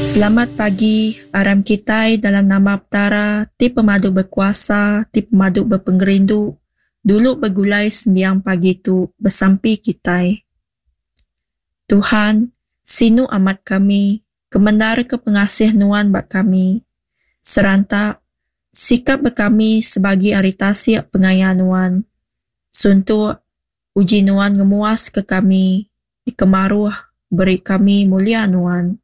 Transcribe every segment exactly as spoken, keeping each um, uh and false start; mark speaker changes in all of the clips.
Speaker 1: Selamat pagi, aram kitai dalam nama Petara ti pemadu bekuasa, ti pemadu bepengerindu, dulu begulai sembiang pagi tu besampi kitai. Tuhan, sinu amat kami, kemendarka pengasih Nuan ba kami. Seranta, sikap ba kami sebagi ari tasik pengaya Nuan. Suntuk, uji Nuan ngemuaska kami, dikemaruh, beri kami mulia Nuan.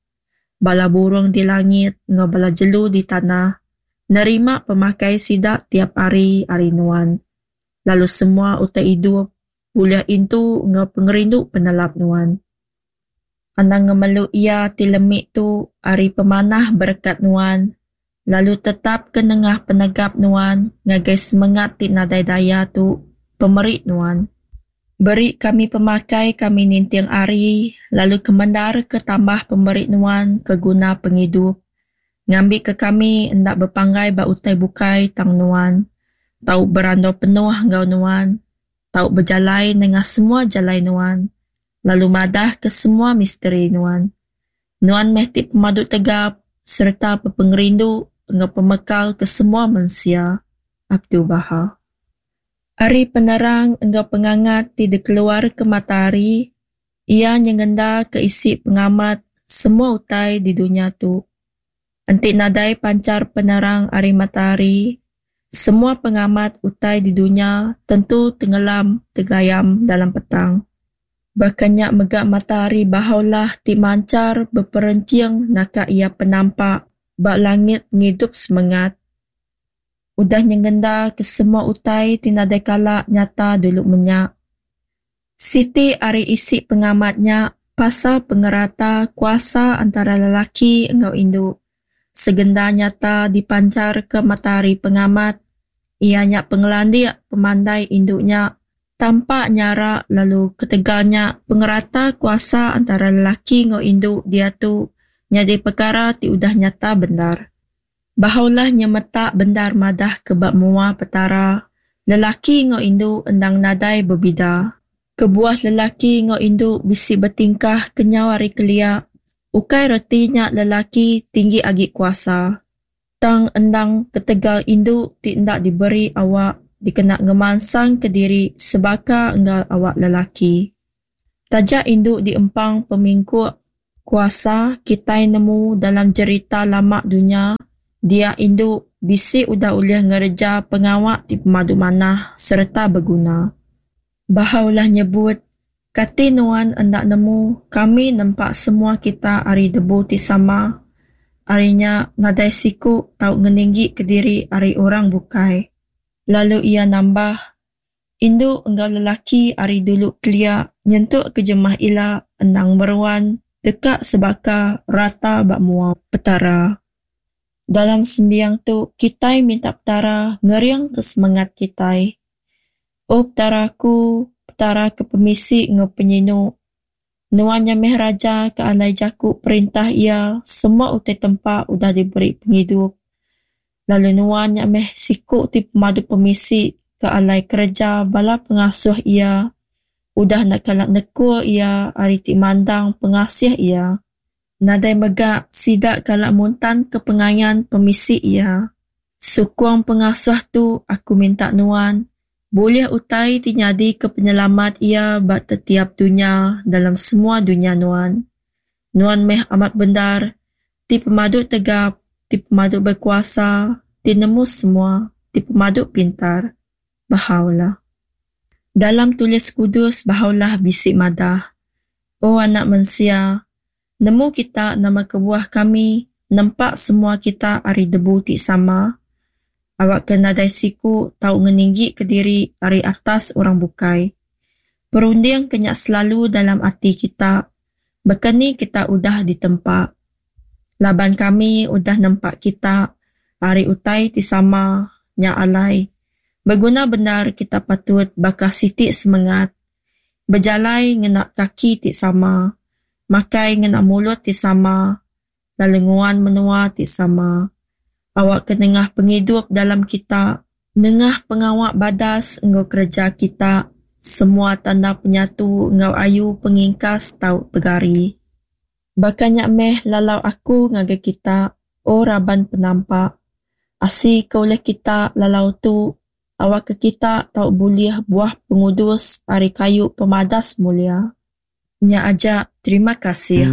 Speaker 1: Bala burung di langit enggau bala jelu di tanah nerima pemakai sida tiap hari ari Nuan, lalu semua utai idup bulih intu enggau pengerindu penelap Nuan. Anang ngemelu iya ti lemi tu ari pemanah berekat Nuan, lalu tetapka nengah penegap Nuan ngagai semengat ti nadai daya tu pemeri Nuan. Beri kami pemakai kami ninting hari, lalu kemendarka tambah pemeri Nuan ke guna pengidup, ngambika kami enda bepanggai ba utai bukai tang Nuan, tau berandau penuh enggau Nuan, tau bejalai nengah semua jalai Nuan, lalu madahka semua misteri Nuan. Nuan meh ti pemadu tegap sereta bepengerindu enggau pemekal ke semua mensia. Abdu'l-Bahá. Ari penerang enggau pengangat ti dikeluarka matahari, iya nyengendaka isi pengamat semua utai di dunya tu. Enti nadai panchar penerang ari matahari, semua pengamat utai di dunya tentu tengelam tegayam dalam petang. Baka nya mega matahari Baha'u'llah ti manchar beperenching naka iya penampak ba langit pengidup semengat. Udah nyengenda ke semua utai ti nadai kala nyata dulu menya. Siti ari isi pengamat nya pasal pengerata kuasa antara lelaki enggau indu. Segenda nyata dipancharka matahari pengamat, iya nya pengelandik pemandai indu nya tampak nyara lalu ketegal nya pengerata kuasa antara lelaki enggau indu diatu nyadi pekara ti udah nyata bendar. Baha'u'llah nyemetak bendar madah ke ba mua Petara, lelaki enggau indu endang nadai bebida. Kebuah lelaki enggau indu bisi betingkah kenyau ari kelia, ukai reti nya lelaki tinggi agi kuasa, tang endang ketegal indu ti enda diberi awak dikena ngemansangka diri sebaka enggau awak lelaki. Taja indu diempang pemingkuk kuasa kitai nemu dalam jerita lama dunya, dia indu bisi udah ulih ngereja pengawa ti pemadu manah sereta beguna. Baha'u'llah nyebut, Kati nuan enda nemu kami nempa semua kita ari debu ti sama? Ari nya nadai siku tau ngeninggi kediri ari orang bukai. Lalu iya nambah, Indu enggau lelaki ari dulu kelia nyentuk ke jemah ila endang meruan deka sebaka rata ba mua Petara. Dalam sembiang tu kitai minta Petara ngeringka semengat kitai. O Petara aku, Petara ke pemisi enggau penyinu, Nuan nya meh raja ke alai jaku perintah iya semua utai tempa udah diberi pengidup. Lalu Nuan nya meh siku ti pemadu pemisi ke alai kereja bala pengasuh iya udah enda kala nekul iya ari ti mandang pengasih iya. Nadai mega sida kala muntanka pengayan pemisi iya. Sukung pengasuh tu aku minta Nuan bulih utai ti nyadika penyelamat iya ba tetiap dunya dalam semua dunya Nuan. Nuan meh amat bendar, ti pemadu tegap, ti pemadu bekuasa, ti nemu semua, ti pemadu pintar. Baha'u'llah. Dalam tulis kudus Baha'u'llah bisi madah, O anak mensia, nemu kita nama kebuah kami nempa semua kita ari debu ti sama? Awakka nadai siku tau ngeninggika diri ari atas orang bukai. Perundingka nya selalu dalam ati kita, baka ni kita udah ditempa. Laban kami udah nempa kita ari utai ti sama, nya alai, beguna bendar kita patut baka siti semengat, bejalai ngena kaki ti sama, makai ngena mulut ti sama, lalu nguan menua ti sama. Awakka nengah pengidup dalam kita, nengah pengawa badas enggau kereja kita, semua tanda penyatu enggau ayu pengingkas tau pegari. Baka nya meh lalau aku ngagai kita, O raban penampak. Asi ke ulih kita lalau tu, awakka kita tau bulih buah pengudus ari kayu pemadas mulia. Nya aja, terima kasih.